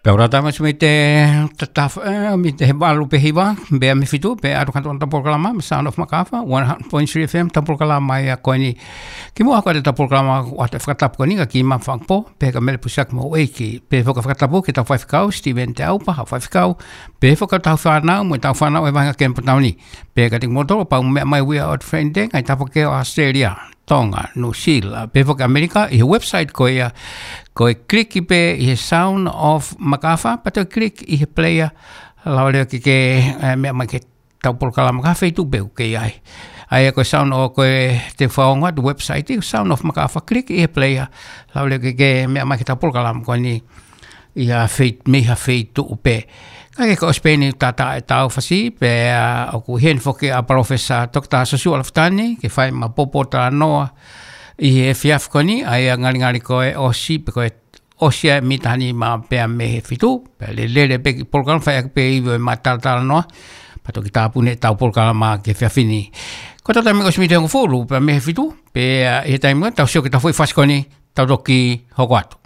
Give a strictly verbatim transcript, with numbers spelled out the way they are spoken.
Pea ʻoku tau ʻosi mei he tataf-, eh, mei he valu pē hiva, pea mei he fitu, pea ʻoku tau ʻoatu ʻetau polokalama, mei he Sound of Makafa, one hundred point three F M, ʻetau polokalama ia ko eni. Kimuʻa ko ʻetau polokalama, ʻoatu e fakatapu ko eni kia Kimā Fakapō, pea kia Mele Pusiaki Moʻueiki, pea foki e fakatapu ki heʻetau faifekau, Steven Teaupa, haʻa faifekau, pea foki ki heʻetau fānau, mo ʻetau fānau ʻi he vahenga Kemi Potau ni, pea kiate kimoutolu ʻoku mou meʻa mai ʻi he ʻaho ni, Friday, ngaahi tafaʻaki ʻo ʻAositelēlia, Tonga, Nuʻusila, pea foki ʻAmelika, ʻi he website ko ia, ko e click pē ʻi he Sound of Makafa, pea toe click ʻi he player, lava leva ke ke, eh, meʻa mai ki heʻetau polokalama ki ha feituʻu pē ʻoku ke ʻi ai. ʻA ia ko e Sound of, ko e te u fakaongo atu e website, ko e Sound of Makafa, click ʻi he player, lava leva ke ke meʻa mai ki heʻetau polokalama ko eni, ʻi ha fei-, mei ha feituʻu pē. Ka ke ko ʻosi pē eni tata ʻetau fasi, pea ʻoku ʻi heni foki ʻa Palōfesa Toketā Siosiua Lafitani, ke fai ʻema poupou talanoa ʻi he efiafi ko eni, ʻa ia ngalingali ko e ʻosi, pe ko e ʻosi ʻa e mita ni ma pea mei he fitu, pea lele pē ki he polokalama fai ʻaki pē ʻi he ʻema talatalanoa, pea toki tāpuni ʻetau polokalama ki he efiafi ni. Ko ʻetau taimi ʻosi mita hongofulu, pea mei he fitu, pea ʻi he taimi ʻoku tau sio ki heʻetau foʻi fasi ko eni, tau toki hoko atu.